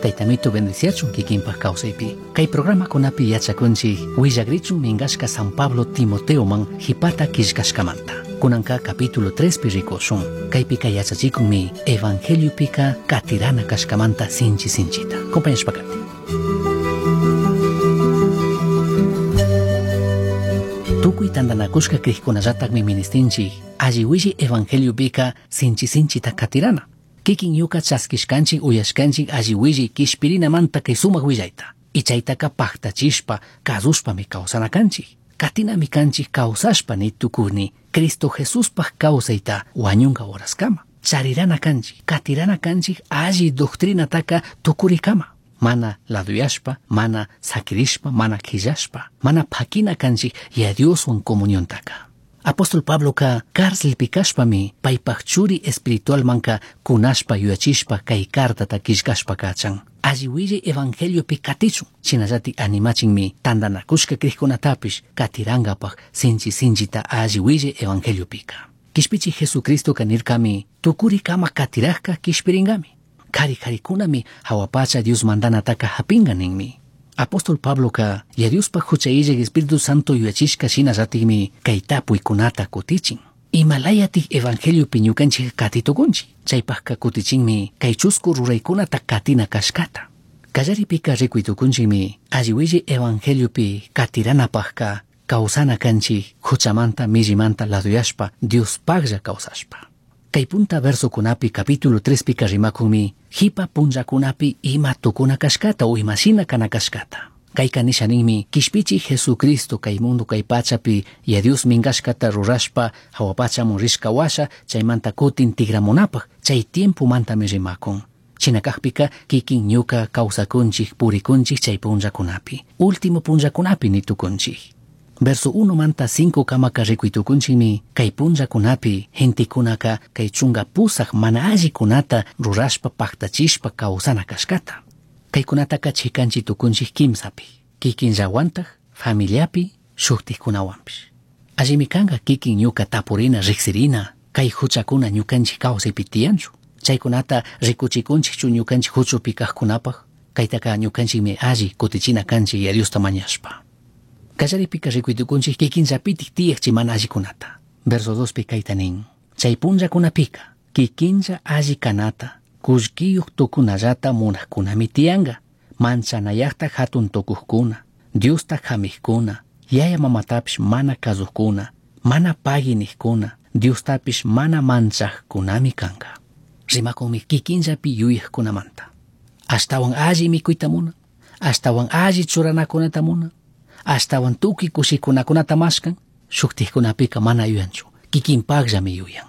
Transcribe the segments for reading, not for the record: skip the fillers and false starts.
Tayta Mito bendiciachun kikinpaj kawsaypi. Kay programakunapi yachakunchik willagrichun minkashka San Pablo Timoteoman hipata killkashkamanta. Kunanka capítulo 3 pi rikushun. Kaypika yachachikunmi evangeliopika katirana kashkamanta sinchi sinchita. Compañashpa kati. Tukuy tantanakushka krikkunallatakmi ministinchik alli willi evangeliopika sinchi sinchita katirana. Kikin ñuka chaskishkanchik uyashkanchik alli willi kishpirinamanta kay sumak willayta. Y chaytaka paktachishpa kasushpami kawsana kanchik. Katinami kanchik kawsashpa ni tukuni Cristo Jesuspaj kawsayta wañunka horaskama. Charirana kanchik, katirana kanchik alli doctrinataka tukurikama. Mana laduyashpa, mana sakirishpa, mana quillashpa, mana pakina kanchik ya Dioswan comuniontaka. Apóstol Pabloka cárcelpi kashpami paypaj churi espiritualmanka kunashpa yuyachishpa kay cartata killkashpa kachan. Alli willay evangeliopi katichun, shinallatik animachinmi tantanakushka krikkunatapish katirankapak sinchi sinchita alli willay evangeliopika. Kishpichi Jesucristoka nirkami tukurikama katirajka kishpirinkami. Kari karikunami hawa pacha Dios mandanataka hapinga ninmi. Apóstol Pabloka ya Diospaj hucha illak Espíritu Santo yuyachishka shinallatikmi kay tapuykunata kutichin. Imalayatik evangeliopi ñukanchik katitukunchik. Chaypajka kutichinmi kay chusku ruraykunata katina kashkata. Kallaripika rikuytukunchikmi alli willi evangeliopi katiranapajka kawsana kanchik huchamanta millimanta laduyashpa Diospajlla kawsashpa. Kay punta versokunapi capítulo 3 pika rimakunmi hipa punllakunapi ima tukuna kashkata o imashina kana kashkata. Kayka nisha ninmi kishpichi Jesucristo kay mundo kay pachapi ya Dios minkashkata rurashpa hawa pachamun rishka washa chaymanta kutin tigramunapaj chay tiempomantami rimakun. Shina kakpika kikin ñuka kawsakunchik purikunchik chay punllakunapi. Último punllakunapi nitukunchik. Verso 1 manta 5 kamaka rikuytukunchikmi kay punllakunapi gentekunaka kay chunka pusak mana allikunata rurashpa paktachishpa kawsana kashkata. Kaykunataka chikanchi tukunchik kimsapi, kikinllawantaj, familiapi, shuktikkunawanpish. Allimi kanka kikin ñuka tapurina riksirina, kay huchakuna ñukanchik kawsaypi tiyanchu. Chaykunata rikuchikunchikchu ñukanchik huchupi kajkunapaj, kaytaka ñukanchikmi alli kutichina kanchik ya Diosta mañashpa. Kallaripika rikuytukunchik kikinllapitik tiyaq chay mana allikunata. Verso 2 pi kayta nin. Chay punllakunapika kikinlla alli kanata, kullkiyuq tukunallata munajkunami tiyanka, manchanayaqta hatun tukuqkuna, Diosta hamijkuna, yaya mamatapish mana kasuqkuna, mana pagui niqkuna, Diostapish mana manchaqkunami kanka. Rimakunmi kikinllapi yuyaqkunamanta. Ashtawan alli mikuyta munan, ashtawan alli churanakunata munan, ashtawan tukuy kushikunakunata mashkan, shuktikkunapika mana yuyanchu, kikinpaqllami yuyan.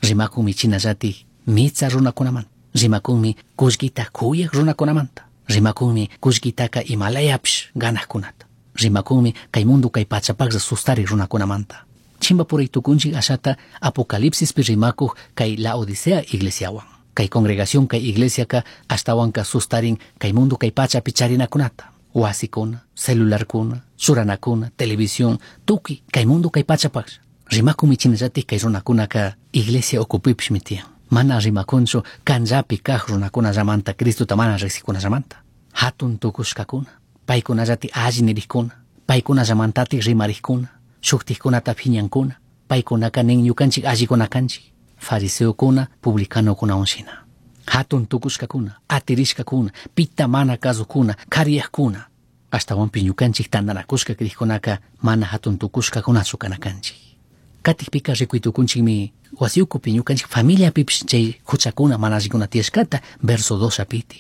Rimakunmi chinallatik mitsa runakunamanta, rimakunmi kullkita kuyaq runakunamanta, rimakunmi kullkitaka imalayapish ganaqkunata, rimakunmi kay mundo kay pachapaqlla sustarik runakunamanta. Chimbapuray tukunchik ashata Apocalipsispi rimakuq kay Laodicea iglesiawan. Kay congregación kay iglesiaka ashtawanka sustarin kay mundo kay pachapi charinakunata. Wasikuna, celularkuna, churanakuna, televisión, tukuy kay mundo kay pachapaqlla. Rimakunmi chinallatik kay runakunaka iglesia ukupipishmi tiyan. Mana rimakunchu kanllapi kaq runakunallamanta Cristota mana riqsikunallamanta. Hatun tukushkakuna, paykunallatik alli nirikkuna, paykunallamantatik rimarikkuna, shuktikkunata phiñankuna, paykunaka nin ñukanchik allikuna kanchik, fariseokuna, publicanokunawan shina. Hatun tukushkakuna, atirishkakuna, pita mana kasukuna, kariyaqkuna. Ashtawanpish ñukanchik tantanakushka krikkunaka mana hatun tukushkakunachu kana kanchik. Katikpika rikuytukunchikmi wasi ukupi ñukanchik familiapipish chay huchakuna mana allikuna tiyashkata verso 2 apitik.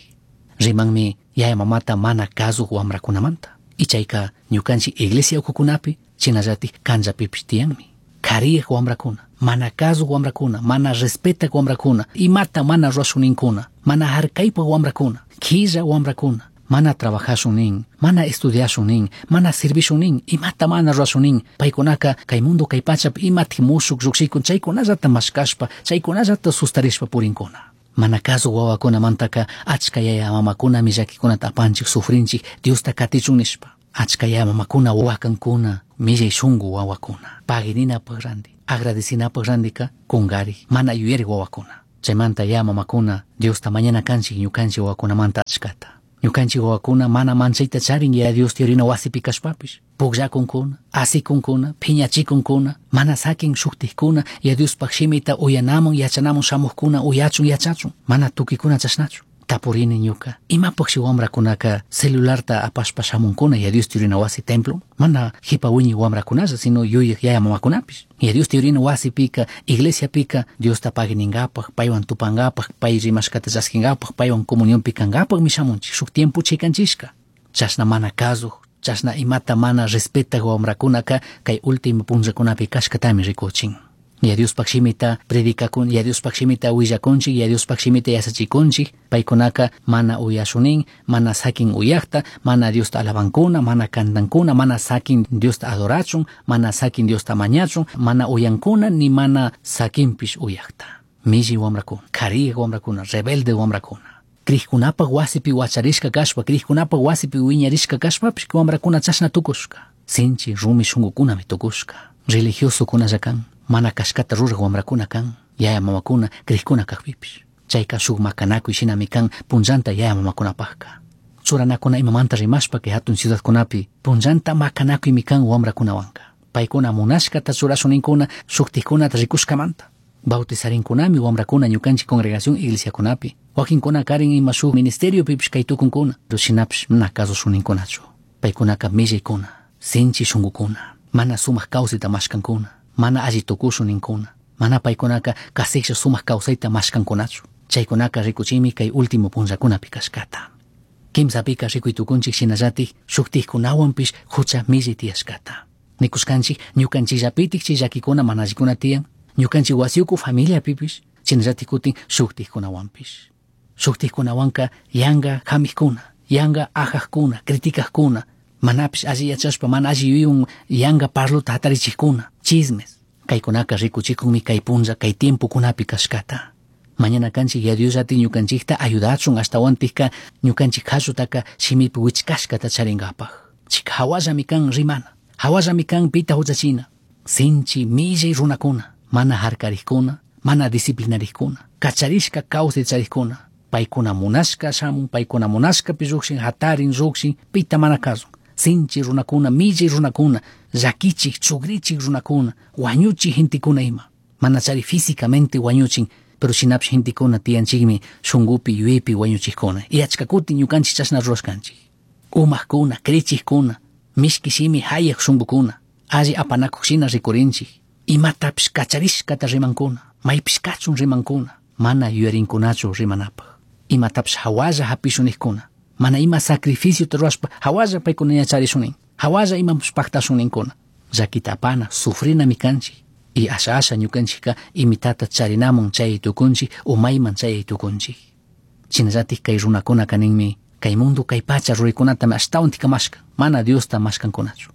Rimanmi yaya mamata mana kasuq wamrakunamanta. Y chayka ñukanchik iglesia ukukunapi shinallatik kanllapipish tiyanmi. Kariyaq wamrakuna, mana kasuq wamrakuna, mana respetak wamrakuna, imata mana rurashuninkuna, mana harkaypaq wamrakuna, killa wamrakuna, mana trabajashun nin, mana estudiashun nin, mana servishun nin, imata mana rurashun nin, paykunaka kay mundo kay pachapi imatik mushuk lluqshikun chaykunallata mashkashpa, chaykunallata sustarishpa purinkuna. Mana kasuq wawakunamantaka achka yaya mamakunami llakikunata apanchik sufrinchik Diosta katichun nishpa. Achka yaya mamakuna wakankuna, millay shunku wawakuna. Paguininapaq ranti, agradecinapaq rantika kungarik, mana yuyarik wawakuna. Chaymanta ya mamakuna Diosta mañana kanchik ñukanchik wawakunamanta achkata. Ñukanchik wawakuna mana manchayta charin ya Dios yuyarina wasipi kashpapish. Pukllakunkuna, asikunkuna, phiñachikunkuna, mana sakin shuktikkuna, ya Diospaj shimita uyanamun yachanamun shamujkuna uyachun yachachun, mana tukikuna chashnachu. Tapurini ñuka, imapaqshi wamrakunaka celularta apashpa shamunkuna ya Dios yuyarina wasi templo? Mana jipa wiñi wamrakunalla, sino yuyaj yaya mamakunapish. Ya Dios yuyarina wasipika, iglesiapika, Diosta paginingapaj, paywan tupangapaj, pay rimashkata chaskingapak, paywan comunionpi kankapakmi shamunchik, shuk tiempo chikanchishka. Chashna mana kasuj, chashna imata mana respetaj wamrakunaka kay último punllakunapi kashkatami rikuchin. Ya Diospaj shimita predicakun, ya Diospaj shimita willakunchik, ya Diospaj shimita yachachikunchik, paykunaka mana uyashunin, mana sakin uyakta, mana Diosta alabankuna, mana kantankuna, mana sakin Diosta adorachun, mana sakin Diosta mañachun, mana uyankuna, ni mana sakinpish uyakta. Milli wamrakuna, kariya wamrakuna, rebelde wamrakuna. Krikkunapaj wasipi wacharishka kashpa, krikkunapaj wasipi wiñarishka kashpapish wamrakuna chashna tukushka. Sinchi rumi shunkukunami tukushka. Religiosokunalla kan, mana kashkata ruraj wamrakuna kan, yaya mamakuna krikuna kajpipish. Chayka shuk makanakuy shinami kan punllanta yaya mamakunapajka. Churanakuna imamanta rimashpa kay hatun ciudadkunapi punllanta makanakuymi kan wamrakunawanka. Paykuna munashkata churashuninkuna shuktikkunata rikushkamanta. Bautizarinkunami wamrakuna ñukanchik congregación iglesiakunapi. Wakinkuna karin ima shuk ministeriopipish kay tukunkuna, pero shinapish mana kasushuninkkunachu. Paykunaka millaykuna, sinchi shunkukuna, mana sumak kawsayta mashkankuna, mana alli tukushuninkuna, mana paykunaka kasiklla sumak kawsayta mashkankunachu. Chaykunaka rikuchimi kay último punllakunapi kashkata. Kimsapika rikuy tukunchik shinallatik shuktikkunawanpish hucha millay tiyashkata. Nikushkanchik ñukanchikllapitik chay llakikuna mana allikuna tiyan, ñukanchik wasiuku familiapipish, shinallatik kutin shuktikkunawanpish. Shuktikkunawanka yanka hamijkuna, yanka ajajkuna, criticajkuna, manapish alli yachashpa, mana alli yuyaywan yanka parluta hatarichijkuna, chismes. Kaykunaka rikuchikunmi kay punlla, kay tiempokunapi kashkata. Mañana kanchik ya Dios llati ñukanchikta ayudachun ashtawantikka ñukanchik kallutaka shimipi wichkashkata charinkapaj. Chika hawallami kan rimana, hawallami kan pita huchachina. Sinchi millay runakuna, mana harkarikkuna, mana disciplinarikkuna, kacharishka kawsay charikkuna, paykuna munashka shamun, paykuna munashkapi llukshin, hatarin llukshin, pita mana kasun. Sinchi runakuna, millay runakuna, llakichik, chugrichik runakuna, wañuchik gentekuna ima. Mana chari físicamente wañuchin, pero shinapish gentekuna tiyanchikmi shunkupi yuyaypi wañuchikkuna. Y achka kutin ñukanchik chashna rurashkanchik. Umakuna, krichikkuna, mishki shimi hayak shunkukuna, alli apanakuq shina rikurinchik. Imatapish kacharishkata rimankuna, maypish kachun rimankuna, mana yuyarinkunachu rimanapaj. Imatapish hawalla hapishunikkuna, mana ima sacrificiota rurashpa hawalla paykuna yacharishunin, hawalla imapish paktashuninkuna. Llakita apana, sufrinami kanchik. Y asha asha ñukanchikka imitata charinamun chay tukunchik o mayman chay tukunchik. Shinallatik kay runakunaka ninmi, kay mundo kay pacha ruraykunatami ashtawantika mashkan, mana Diosta mashkankunachu.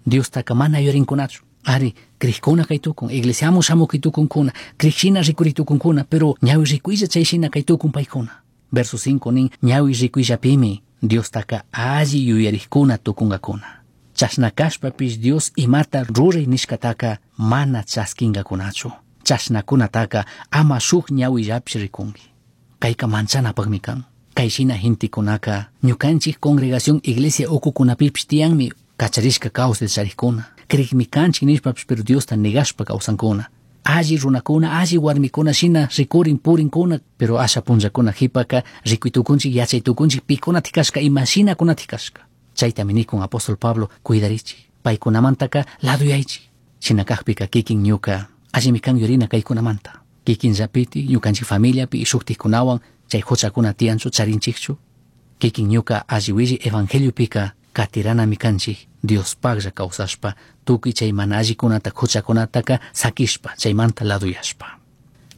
Diostaka mana yuyarinkunachu. Ari, krikuna kay tukun, iglesiamun shamuk kay tukunkuna, krik shina rikuri tukunkuna, pero ñawi rikuylla chay shina kay tukun paykuna. Verso 5 nin, ñawi rikuyllapimi Diostaka alli yuyarikkuna tukunkakuna. Chashna kashpapish Dios imata ruray nishkataka mana chaskinkakunachu. Chashnakunataka ama shuk ñawillapish rikunki. Kayka manchanapakmi kan. Kay shina gentekunaka ñukanchik congregación iglesia ukukunapipish tiyanmi kacharishka kawsay charikkuna. Krikmi kanchik nishpapish pero Diosta negashpa kawsankuna. Alli runakuna, alli warmikuna shina rikurin purinkuna, pero asha punllakuna jipaka rikuy tukunchik, yachay tukunchik pikunatik kashka, ima shinakunatik kashka. Chaytami nikun apóstol Pablo, cuidarichik, paykunamantaka laduyaychik. Shina kajpika kikin ñuka, allimi kan yurina kaykunamanta. Kikin llapiti, ñukanchik familiapi y shuktikkunawan chay huchakuna tiyanchu charinchikchu. Kikin ñuka alli willi evangeliopika katiranami kanchik Diospaklla kawsashpa, tukuy chay mana allikunata huchakunataka sakishpa, chaymanta laduyashpa.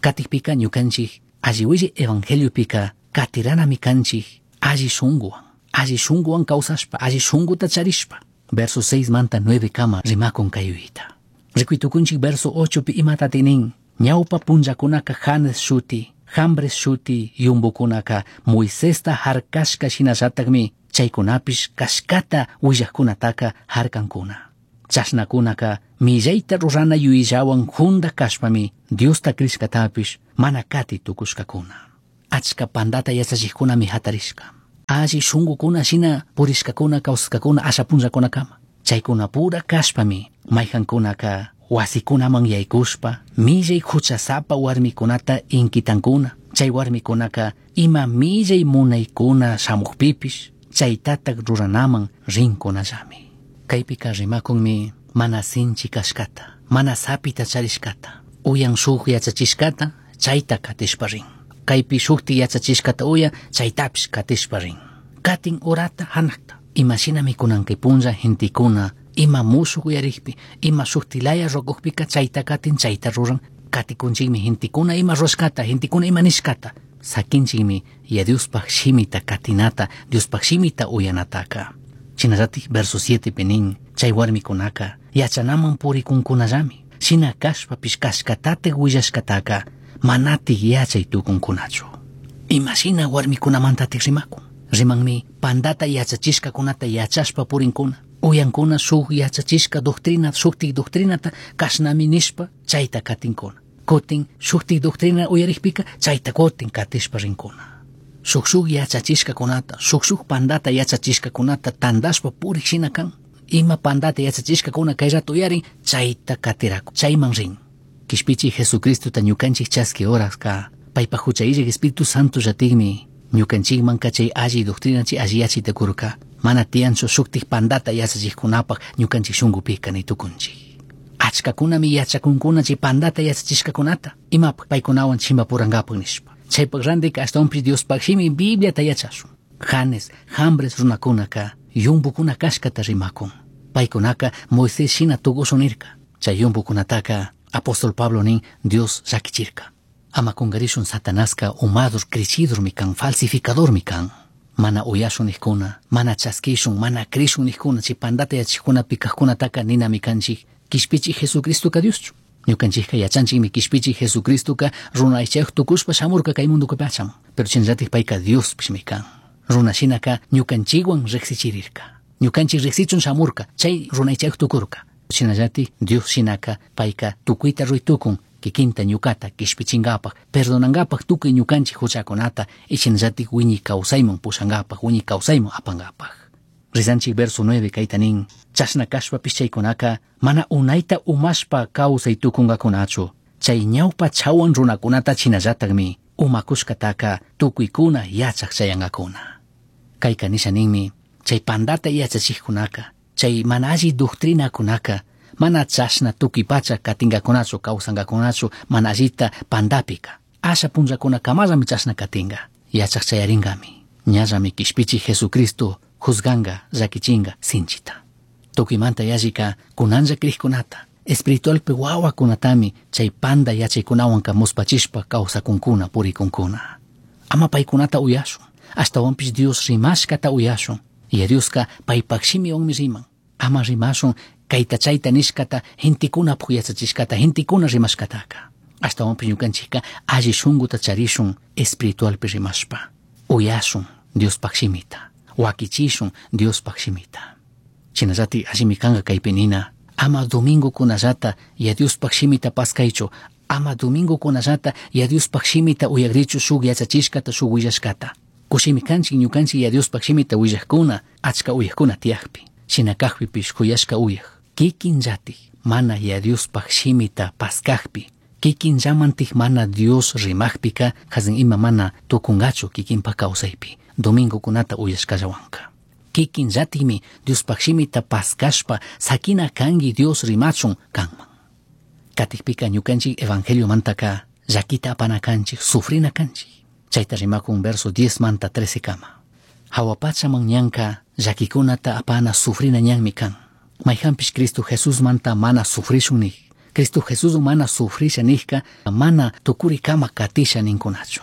Katikpika ñukanchik alli willi evangeliopika katiranami kanchik alli shunkuwan, alli shunkuwan kawsashpa, alli shunkuta charishpa. Verso 6 manta 9 kama rimakun kay yuyayta. Rikuy tukunchik verso 8 pi imatati nin, ñawpa punllakunaka Janes shuti, Jambres shuti yumbukunaka Moisesta harkashka shinallatakmi chaykunapish kashkata willajkunataka harkankuna. Chashnakunaka millayta rurana yuyayllawan junda kashpami Diosta crishkatapish mana kati tukushkakuna. Achka pandata yachachikkunami hatarishka. Alli shungukuna shina purishkakuna kawsashkakuna asha punllakunakama. Chaykunapura kashpami mayjankunaka wasikunaman yaykushpa millay huchasapa warmikunata inkitankuna. Chay warmikunaka ima millay munaykuna shamukpipish chaytatak ruranaman rinkunallami. Kaypika rimakunmi mana sinchi kashkata, mana sapita charishkata, uyan shuk yachachishkata chayta katishpa rin. Kaypi shukti yachachishkata uyan chaytapish katishpa rin. Katin urata hanakta. Imashinami kunan kay punlla gentekuna ima mushuk uyarikpi, ima shuktilaya rukukpika chayta katin chayta ruran. Katikunchikmi gentekuna ima rushkata, gentekuna ima nishkata. Sakinchikmi ya Diospaj shimita katinata, Diospaj shimita uyanataka. Shinallatik verso 7 nin, chay warmikunaka yachanaman purikunkunallami. Shina kashpapish kashkatatik willashkataka manatik yachay tukunkunachu. Imashina warmikunamantatik rimakun. Rimanmi pandata yachachishkakunata yachashpa purinkuna. Uyankuna shuk yachachishka doctrina, shuktik doctrinata kashnami nishpa chayta katinkuna. Kutin shuktik doctrina uyarikpika chayta kutin katishpa rinkuna. Shuk shuk yachachishkakunata, shuk shuk pandata yachachishkakunata tandashpa purik shina kan. Ima pandata yachachishkakuna kay rato uyarin chayta katiraku, chayman rin. Kishpichi Jesucristota ñukanchik chaski horaska paypa hucha illak Espíritu Santo llatikmi ñukanchikmanka chay alli doctrina chay alli yachayta kurka. Mana tiyanchu shuktik pandata yachachikkunapaj ñukanchik shunkupika ni tukunchik. Achkakunami yachakunkuna chay pandata yachachishkakunata imapaj paykunawan chimpapurankapak nishpa. Chaypak randika ashtawanpish Diospaj shimi Bibliata yachashun. Janes, Jambres runakunaka yumpukuna kashkata rimakun. Paykunaka Moisés shina tukushun nirka. Chay yumpukunataka apóstol Pablo nin Dios llakichirka. Ama kungarishun Satanaska umadur crechidurmi kan, falsificadormi kan. Mana uyashun nikkuna, mana chaskishun, mana crishun nikkuna, chay pandata yachikkunapi kajkunataka ninami kanchik, kishpichi Jesucristoka Dioschu. Ñukanchikka yachanchikmi kishpichi Jesucristoka runa aychayuq tukushpa shamurka kay mundukupi achamun. Pero shinallatik payka Diospishmi kan. Runa shinaka ñukanchikwan riqsichirirka. Ñukanchik riqsichun shamurka, chay runa aychayuq tukurka. Shinallatik Dios shinaka payka tukuyta ruytukun, kikinta ñukata kishpichinkapak, perdonankapak tukuy ñukanchik huchakunata, y shinallatik wiñay kawsayman pushankapak, wiñay kawsayman apankapak. Rizanchik verso 9 kayta nin, chashna kashpapish chaykunaka mana unayta umashpa kawsay tukunkakunachu. Chay ñawpa chawan runakunata shinallatakmi umakushkataka tukuykuna yachak chayankakuna. Kayka nisha ninmi, chay pandata yachachikkunaka, chay mana alli doctrinakunaka, mana chashna tukuy pacha katinkakunachu, kawsankakunachu, mana allita pandapika. Asha punllakunakamallami chashna katinka, yachak chayarinkami. Ñallami kishpichi Jesucristo juzganga, llakichinga sinchita. Tukuymanta yallika kunanlla krikkunata, espiritualpi wawakunatami chay panda yachaykunawanka muspachishpa kawsakunkuna, purikunkuna. Ama paykunata uyashun, ashtawanpish Dios rimashkata uyashun. Y Dioska paypak shimiwanmi riman. Ama rimashun kayta chayta nishkata, gentekunapuk yachachishkata, gentekuna rimashkataka. Ashtawanpish ñukanchikka alli shunkuta charishun espiritualpi rimashpa. Uyashun Diospaj shimita, wakichishun Diospaj shimita. Shinallatik allimi kanka kaypi nina, ama domingokunallata ya Diospaj shimita paskaychu, ama domingokunallata ya Diospaj shimita uyakrichu shuk yachachishkata, shuk willashkata. Kushimi kanchik ñukanchik ya Diospaj shimita willajkuna, achka uyajkuna tiyakpi. Shina kajpipish kuyashka uyaj. Kikinllatik mana ya Diospaj shimita paskajpi, kikinllamantik mana Dios rimajpika, hazin ima mana tukungachu kikinpak kawsaypi, domingokunata uyashkallawanka. Kikinllatikmi Diospaj shimita paskashpa sakina kanki Dios rimachun kanman. Katikpika ñukanchik evangeliomantaka llakita apana kanchik, sufrina kanchik. Chayta rimakun verso 10 manta 13 kama. Hawa pachaman ñanka llakikunata apana sufrina ñanmi kan. Mayjanpish Cristo Jesús manta mana sufrishun nik. Cristo Jesús mana sufrisha nijka mana tukuri kama katisha ninkunachu.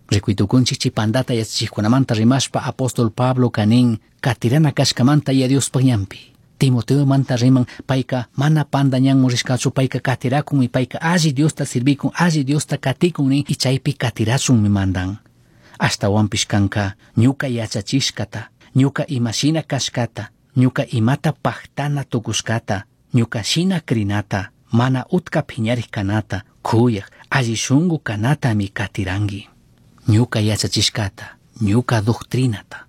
Rikuytukunchik chay pandata yachachikkunamanta rimashpa apóstol Pablo kanin katirana kashkamanta ya Diospaj ñanpi. Timoteo manta riman payka mana panda ñanman rishkachu, payka katirakunmi, payka alli Diosta sirvikun, alli Diosta katikun nin, y chaypi katirachunmi mandan. Ashtawanpish kanka ñuka yachachishkata, ñuka imashina kashkata, ñuka imata pajtana tukushkata, Ñuca shina crinata, mana utca piñarij canata, cuyaj, alli shungu canatami catirangui. Ñuca yachachishcata, ñuca doctrinata.